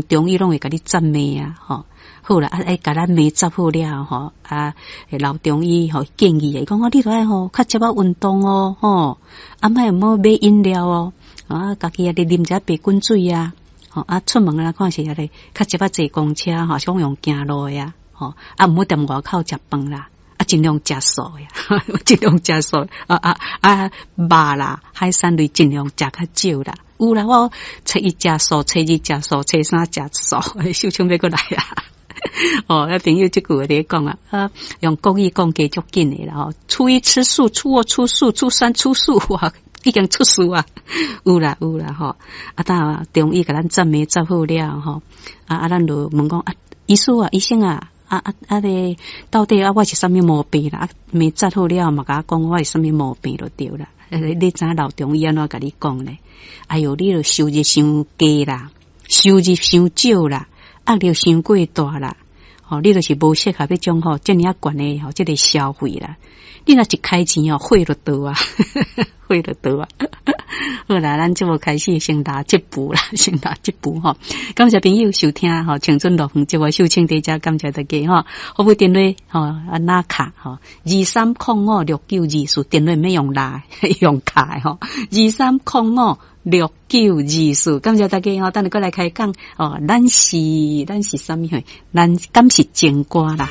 中醫攏會共你扎脈啊，吼。好啦，啊，會共咱脈扎好了吼，啊，老中醫吼建議，伊講哦，你著愛吼較少仔運動哦，吼，啊，莫毋好買飲料哦，啊，家己啊咧啉一下白滾水啊，吼，啊，出門啊看是啊咧較少仔坐公車吼，是講用行路的啊，吼，啊，毋好踮外口食飯啦，啊，盡量食素呀，盡量食素，啊啊啊，肉啦，海產類盡量食較少啦。有啦，我初一食素，初二食素，初三食素，秀清欲閣來啊！哦，啊朋友這句話佇咧講啊，啊，用國語講加足緊的啦吼。初一吃素，初二吃素，初三吃素，哇，已經出事啊！有啦有啦吼，啊，當中醫共咱扎脈扎好了吼，啊啊，咱就問講啊，醫師啊，醫生啊，啊啊啊咧，到底啊我是啥物毛病啦？啊，脈扎好了嘛，共我講我是啥物毛病就對啦。你知影老中醫按怎共你講咧？哎喲，你著收入傷低啦，收入傷少啦，壓力傷過大啦，吼，你就是無適合彼種吼遮爾仔懸的吼，這个消費啦。你若一開錢哦，火就到啊，火就到啊。好啦，咱節目開始先來這步啦，先來這步吼。感謝朋友收聽吼，青春樂園節目秀清佇遮感謝大家吼。服務電話吼，啊拿卡吼，23056924，電話免用拉，用卡吼，23056924，感謝大家吼，等下閣來開講哦。咱是咱是啥物貨？咱敢是情歌啦。